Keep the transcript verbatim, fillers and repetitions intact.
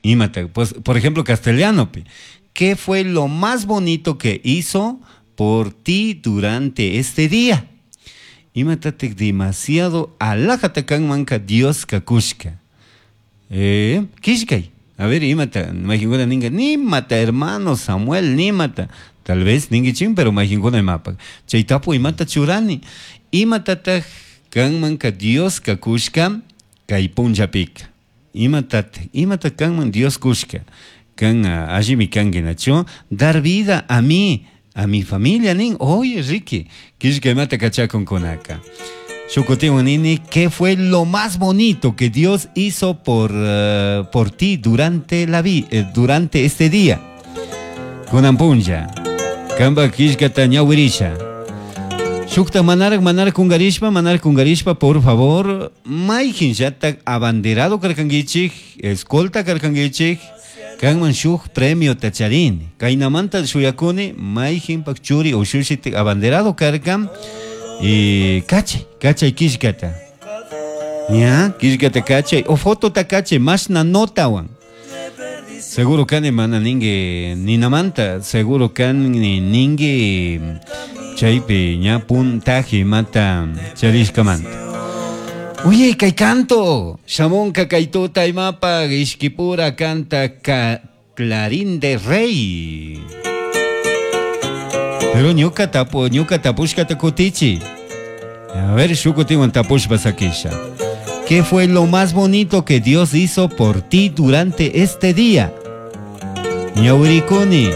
Imata, pues, por ejemplo, castellanopi. ¿Qué fue lo más bonito que hizo por ti durante este día? Imatatik demasiado alajata kanmanka Dioska kushka. Eh, kishkay. A ver, imata, mayqinkuna ninka, nimata, hermano Samuel, nimata. Tal vez ninguichin, pero mayqinkuna imapak. Chay tapu imata churani. Imatataq kanmanka Dioska kushka kay punllapika. Imatataq, imata kanman Dios kushka. Kan allimi kanki nachu. Dar vida a mí, a mi familia nin. Oye, Ricky, kishka imata kachakunkunaka. Shuk kutiwan nini, ¿qué fue lo más bonito que Dios hizo por, uh, por ti durante la vi, eh, durante este día? Kunan punlla. Kamba kishkata ñawirisha. Shukta manarak manarak kungarishpa, manarak kungarishpa, por favor, mayqinllatak abanderado karkankichik, escolta karkankichik, kanman shuk premio tacharini. Kaynamanta shuyakuni, mayqinpak churi ushushitik abanderado karkan, y kachay, kachay kishkata. Ya, kishkata kachay, o fotota kachay, mashna notawan. Seguro kani mana ningi ninamanta, seguro kani ningi chaypi ña puntaje mata charishkamanta. Oye, kay canto, shamunka kaytuta imapa ishkipura canta ka Clarín de Rey. Pero ñuka tapu, ñuka tapushkata kutichi. A ver, shuk kutiwan tapushpa sakisha. ¿Qué fue lo más bonito que Dios hizo por ti durante este día? Ñawirikuni.